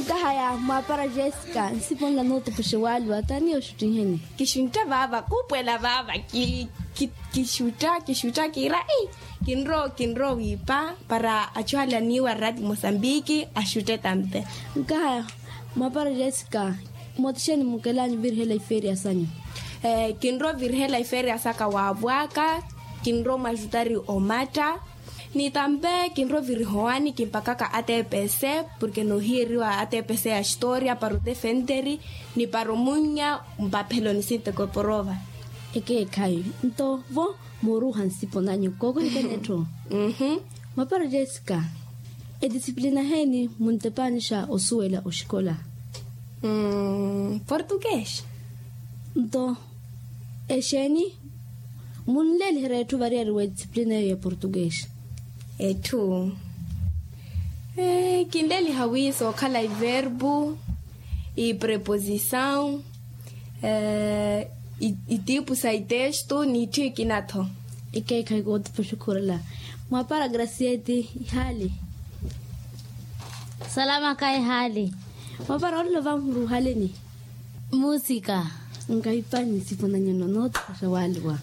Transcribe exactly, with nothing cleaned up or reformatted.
Nkahaya mwaapara jessica nsipo nla nootupuxe waaliwa taani oxuttiheni? Kixuntta vaava kuupuwela vaava. Kixutta kixutta kiira ii kinrowa kinrowa wiipa para achuhale aniiwa rati mosambiki axutte tampe. Nkahaya mwaapara jessica mootixeni mukelanyu virihela ifeeriya sanyu? Kinrowa virihela ifeeriya saka waavwaaka. Kinrowa mwaxutari omatta ni tampe kinrowa virihowani kimpakaka atepese porke noohiyeriwa atepese ya xitooriya para otefenteri ni para omunnya mpapheloni sinteko eporova. Ekeekhayi nto vo mooruuha nsipo nanyu kookohikene etthu. Mwaapara jessica etisiplina heeni muntepaanixa osuwela oxikola? Portugues. Nto exeeni munleeliherya etthu variyari w'etisiplina eyo ya portugues? Etthu kinleeliha wi sookhala iverbu ipreposisaw itiipu sa itestu n'itthu ikina-tho. Ikeekhayi kootupuxa okhurela. Mwaapara gracieti ihaali? Salamaka ihaali. Mwaapara olelo vamuhuru ohaleni? Musika. Nkahipani nsipo nanyu nno nootupuxa waaliwa.